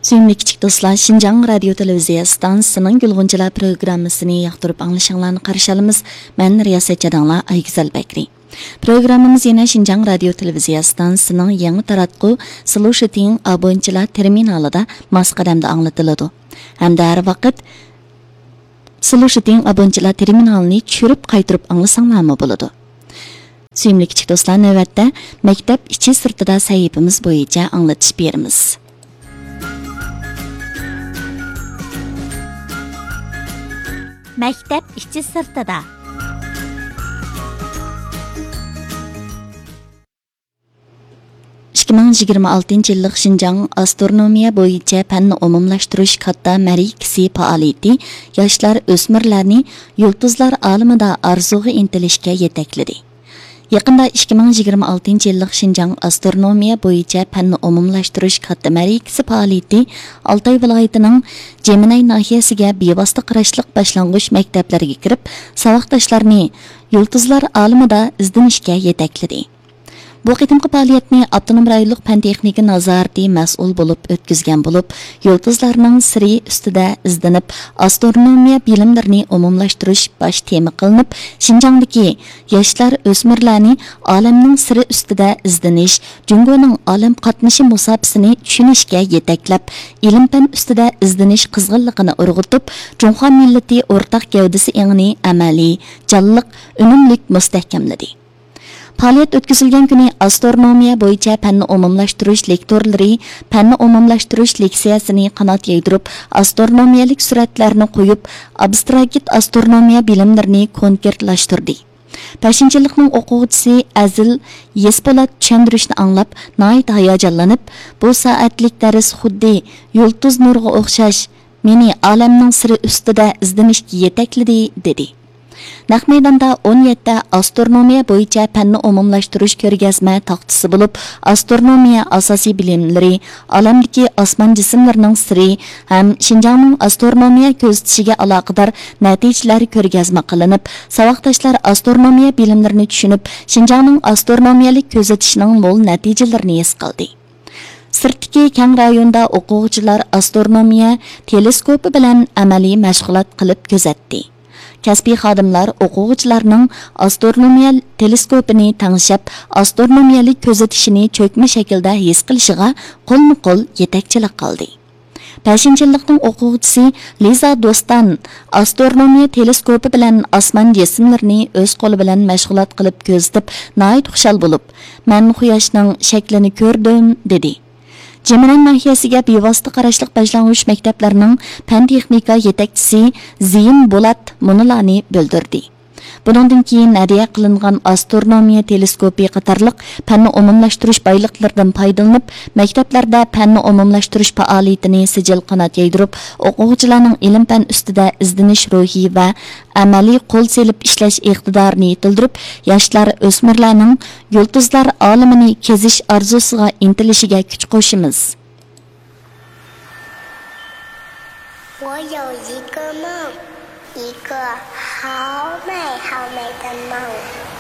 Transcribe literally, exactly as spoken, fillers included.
سۆيۈملۈك كىچىك دوستلار، شىنجاڭ رادىيو تېلېۋىزىيە ئىستانسىسىنىڭ گۈلغۇنچىلار پروگراممىسىنى ياقتۇرۇپ ئاڭلىشىڭلارنى قارشى ئالىمىز. مەن رىياسەتچى ئاداڭلار ئايگۈزەل بەكرى. پروگراممىمىز يەنە شىنجاڭ رادىيو تېلېۋىزىيە ئىستانسىسىنىڭ يېڭى تاراتقۇ سلۇشىتىڭ ئابونچىلار تېرمىنالىدا ماس قەدەمدە ئاڭلىتىلىدۇ. ھەمدە ھەر ۋاقىت سلۇشىتىڭ ئابونچىلار تېرمىنالىنى چۈشۈرۈپ قايتۇرۇپ ئاڭلىساڭلارمۇ بولىدۇ. سۆيۈملۈك كىچىك دوستلار، نۆۋەتتە مەكتەپ ئىچى سىرتىدا سەھىپىمىز بويىچە ئاڭلىتىش بېرىمىز. مەكتەپ ئىچى سىرتىدا. ئىككى مىڭ يىگىرمە ئالتىنچى يىللىق شىنجاڭ ئاسترونومىيە بويىچە پەننى ئومۇملاشتۇرۇش كاتتا مەرىكىسى پائالىيىتى ياشلار، ئۆسمۈرلەرنى يۇلتۇزلار ئالىمىدا ئارزۇغا ئىنتىلىشكە يېتەكلىدى. يېقىندا ئىككى مىڭ يىگىرمە ئالتىنچى يىللىق شىنجاڭ ئاسترونومىيە بويىچە پەننى ئومۇملاشتۇرۇش كاتتا مەرىكىسى پائالىيىتى ئالتاي ۋىلايىتىنىڭ جېمىنەي ناھىيەسىگە بىۋاسىتە قاراشلىق باشلانغۇچ مەكتەپلەرگە كىرىپ، ساۋاقداشلارنى يۇلتۇزلار ئالىمىدا ئىزدىنىشكە يېتەكلىدى. بۇ قېتىمقى پائالىيەتنى ئاپتونوم رايونلۇق پەن تېخنىكا نازارىتى مەسئۇل بولۇپ ئۆتكۈزگەن بولۇپ، يۇلتۇزلارنىڭ سىرى ئۈستىدە ئىزدىنىپ، ئاسترونومىيە بىلىملىرىنى ئومۇملاشتۇرۇش باش تېما قىلىنىپ، شىنجاڭدىكى ياشلار، ئۆسمۈرلەرنى ئالەمنىڭ سىرى ئۈستىدە ئىزدىنىش، جۇڭگونىڭ ئالەم قاتنىشى مۇساپىسىنى چۈشىنىشكە يېتەكلەپ، ئىلىم-پەن ئۈستىدە ئىزدىنىش قىزغىنلىقىنى ئۇرغۇتۇپ، جۇڭخۇا مىللىتى ئورتاق گەۋدىسى ئېڭىنى ئەمەلىي، جانلىق، ئۈنۈملۈك مۇستەھكەملىدى. پائالىيەت ئۆتكۈزۈلگەن كۈنى ئاسترونومىيە بويىچە پەننى ئومۇملاشتۇرۇش لېكتورلىرى پەننى ئومۇملاشتۇرۇش لېكسىيەسىنى قانات يايدۇرۇپ، ئاسترونومىيەلىك سۈرەتلەرنى قويۇپ، ئابستراكت ئاسترونومىيە بىلىملىرىنى كونكرېتلاشتۇردى. بەشىنچى يىللىقنىڭ ئوقۇغۇچىسى ئەزىل يېسپولات چۈشەندۈرۈشنى ئاڭلاپ، ناھايىتى ھاياجانلىنىپ، بۇ سائەتلىك دەرس خۇددى يۇلتۇز نۇرىغا ئوخشاش، مېنى ئالەمنىڭ سىرى ئۈستىدە ئىزدىنىشكە يېتەكلىدى، دېدى. نەق مەيداندا ئون يەتتە ئاسترونومىيە بويىچە پەننى ئومۇملاشتۇرۇش كۆرگەزمە تاختىسى بولۇپ، ئاسترونومىيە ئاساسىي بىلىملىرى، ئالەمدىكى ئاسمان جىسىملىرىنىڭ سىرى ھەم شىنجاڭنىڭ ئاسترونومىيە كۆزىتىشىگە ئالاقىدار نەتىجىلەر كۆرگەزمە قىلىنىپ، ساۋاقداشلار ئاسترونومىيە بىلىملىرىنى چۈشىنىپ، شىنجاڭنىڭ ئاسترونومىيەلىك كۆزىتىشىنىڭ مول نەتىجىلىرىنى ھېس قىلدى. سىرتتىكى كەڭ رايوندا ئوقۇغۇچىلار ئاسترونومىيە تېلېسكوپى بىلەن ئەمەلىي مەشغۇلات قىلىپ كۆزەتتى. كەسپىي خادىملار ئوقۇغۇچىلارنىڭ ئاسترونومىيە تېلېسكوپىنى تەڭشەپ، ئاسترونومىيەلىك كۆزىتىشىنى چۆكمە شەكىلدە ھېس قىلىشىغا قولمۇ قول يېتەكچىلىك قىلدى. بەشىنچى يىللىقنىڭ ئوقۇغۇچىسى لىزا دوستان ئاسترونومىيە تېلېسكوپى بىلەن ئاسمان جىسىملىرىنى ئۆز قولى بىلەن مەشغۇلات قىلىپ كۆزىتىپ، ناھايىتى خۇشال بولۇپ، مەن قۇياشنىڭ شەكلىنى كۆردۈم، دېدى. جېمىنەن ناھىيەسىگە بىۋاسىتە قاراشلىق باشلانغۇچ مەكتەپلەرنىڭ پەن تېخنىكا يېتەكچىسى زېيىن بولات مۇنۇلارنى بىلدۈردى. بۇنىڭدىن كېيىن ھەدىيە قىلىنغان ئاسترونومىيە تېلېسكوپى قاتارلىق پەننى ئومۇملاشتۇرۇش بايلىقلىرىدىن پايدىلىنىپ، مەكتەپلەردە پەننى ئومۇملاشتۇرۇش پائالىيىتىنى سىجىل قانات يايدۇرۇپ، ئوقۇغۇچىلارنىڭ ئىلىم-پەن ئۈستىدە ئىزدىنىش روھى ۋە ئەمەلىي قول سېلىپ ئىشلەش ئىقتىدارىنى يېتىلدۈرۈپ، ياشلار، ئۆسمۈرلەرنىڭ يۇلتۇزلار ئالىمىنى كېزىش ئارزۇسىغا ئىنتىلىشىگە كۈچ قوشىمىز. 我有一个梦，一个好美好美的梦。